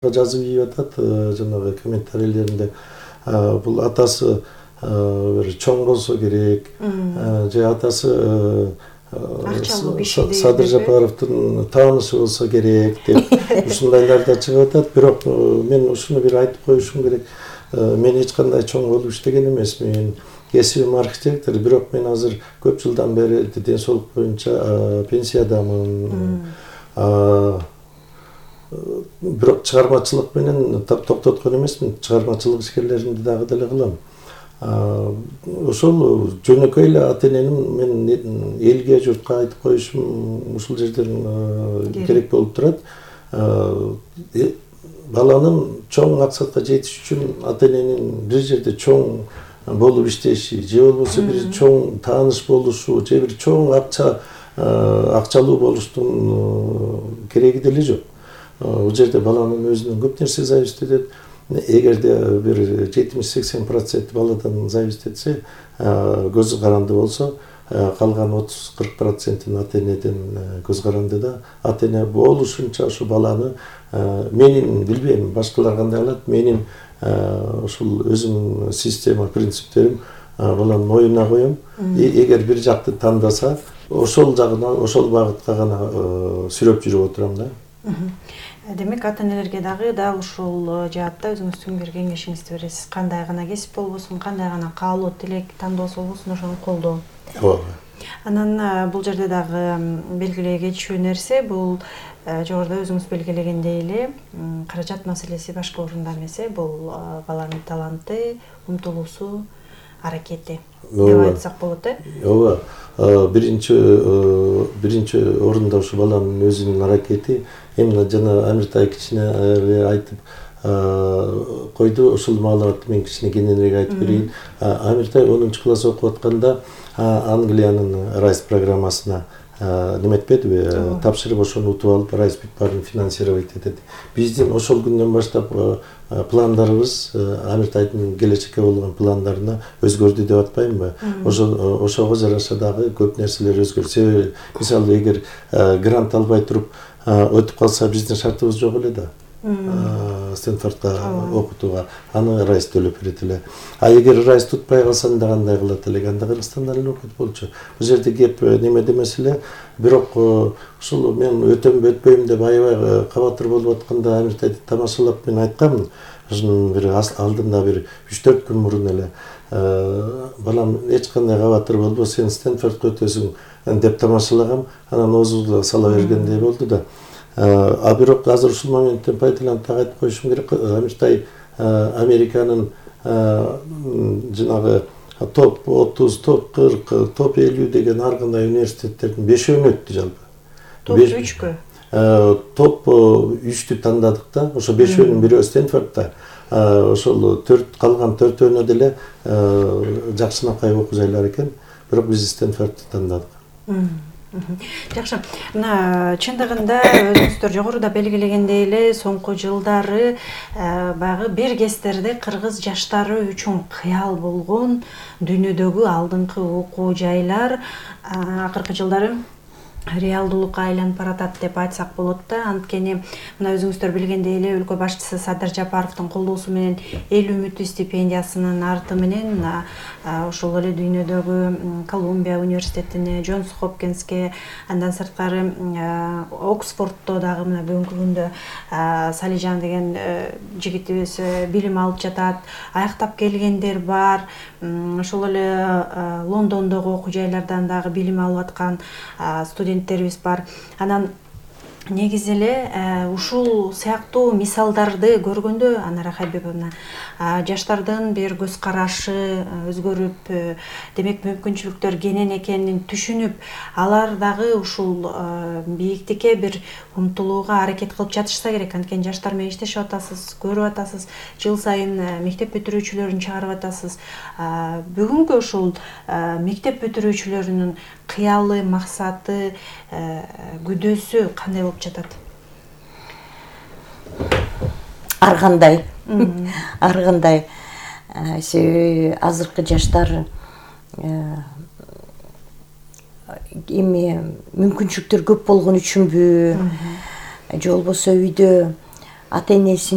жазып ийип атат жанагы комментарийлеринде. Бул атасы бир чоң болсо керек, же атасы Садыр Жапаровдун таанышы болсо керек деп ушундайлар да чыгып атат. Бирок мен ушуну бир айтып коюшум керек. Мен эч кандай чоң болуп иштеген эмесмин. Кесибим архитектор, бирок мен азыр көп жылдан бери ден соолук боюнча пенсиядамын. Бирок чыгармачылык менен токтоткон эмесмин. Чыгармачылык ишкерлеринди дагы деле кылам. Ошол жөнөкөй эле ата-эненин мен элге, журтка айтып коюшум ушул жерден керек болуп турат. Баланын чоң максатка жетиш үчүн ата-эненин бир жерде чоң болуп иштеши, же болбосо бир чоң тааныш болушу, же бир чоң акчалуу болуштун кереги деле жок. Бул жерде баланын өзүнөн көп нерсе зависит этет. Эгерде бир 70-80% баладан зависит этсе, көзү каранды болсо, калган 30-40% ата-энеден көз каранды да. Ата-эне болушунча ушу баланы менин билбейм, башкалар кандай кылат, менин ушул өзүмдүн система, принциптерим баланын оюна коем. Эгер бир жакты тандаса, ошол жагына, ошол багытка гана сүрөп жүрүп отурам да. Демек, ата-энелерге дагы дал ушул жаатта өзүңүздүн бир кеңешиңизди бересиз. Кандай гана кесип болбосун, кандай гана каалоо, тилек, тандоосу болбосун, ошону колдоо. Анан бул жерде дагы белгилей кетишүү нерсе, бул жогоруда өзүңүз белгилегендей эле каражат маселеси башка орунда эмесе, бул баланын таланты, умтулуусу, аракети деп айтсак болот, Ооба. Биринчи орунда ушу баланын өзүнүн аракети. Эмне жана Амиртай кичине айтып койду, ушул маалыматты мен кичине кененирээк айтып берейин. Амиртай 10 класс окуп атканда Англиянын RISE программасына неметпедиби, тапшырып ошону утуп алып, RISE баарын финансировать этет. Биздин ошол күндөн баштап пландарыбыз Амиртайдын келечекке болгон пландарына өзгөрдү деп атпаймынбы? Ошого жараша дагы көп нерселер өзгөрдү. Себеби, мисалы, эгер грант албай туруп өтүп калса, биздин шартыбыз жок эле да. Стэнфордко окутууга аны RISE төлөп берет эле. Эгер RISE тутпай калса, анда кандай кылат элек? Анда Кыргызстандан эле окуп болчу. Бул жерде кеп немеде маселе. Бирок ушул мен өтөм өтпөйм деп аябай кабатыр болуп атканда Амиртайды тамашалап мен айткаммын. Ушунун бир алдында бир 3-4 күн мурун эле балам эч кандай кабатыр болбо, сен Стэнфордко өтөсүң деп тамашалагам. Анан оозуга сала бергендей болду да. Бирок азыр ушул моменттен пайдаланып айтып коюшум керек. Амиртай Американын жанагы топ 30, топ 40, топ 50 деген ар кандай университеттердин 5-өөнү өттү жалпы. Топ 3кө? Топ 3тү тандадык да. Ошо 5-өөнүн бирөө Стэнфордта. Ошол калган 4-өөнө деле жакшынакай окуу жайлар экен. Бирок биз Стэнфордты тандадык. Жакшы. Мына чындыгында өзүңүздөр жогоруда белгилегендей эле соңку жылдары баягы бир кездерде кыргыз жаштары үчүн кыял болгон дүйнөдөгү алдыңкы окуу жайлар акыркы жылдары реалдуулукка айланып баратат деп айтсак болот да. Анткени мына өзүңүздөр билгендей эле өлкө башчысы Садыр Жапаровдун колдоосу менен эл үмүтү стипендиясынын арты менен ошол эле дүйнөдөгү Колумбия университетине, Джонс Хопкинске, андан сырткары Оксфордто дагы мына бүгүнкү күндө Салижан деген жигитибиз билим алып жатат. Аяктап келгендер бар. Ошол эле Лондондогу окуу жайлардан дагы билим алып аткан студенттерибиз бар. Анан негизи эле ушул сыяктуу мисалдарды көргөндө Анара Хабибовна жаштардын бир көз карашы өзгөрүп, демек мүмкүнчүлүктөр кенен экенин түшүнүп, алар дагы ушул бийиктикке бир умтулууга аракет кылып жатышса керек. Анткени жаштар менен иштешип атасыз, көрүп атасыз, жыл сайын мектеп бүтүрүүчүлөрүн чыгарып атасыз. Бүгүнкү ушул мектеп бүтүрүүчүлөрүнүн кыялы, максаты, күдөөсү кандай болуп жатат? Ар кандай. Себеби азыркы жаштар эми мүмкүнчүлүктөр көп болгон үчүнбү, же болбосо үйдө ата энесин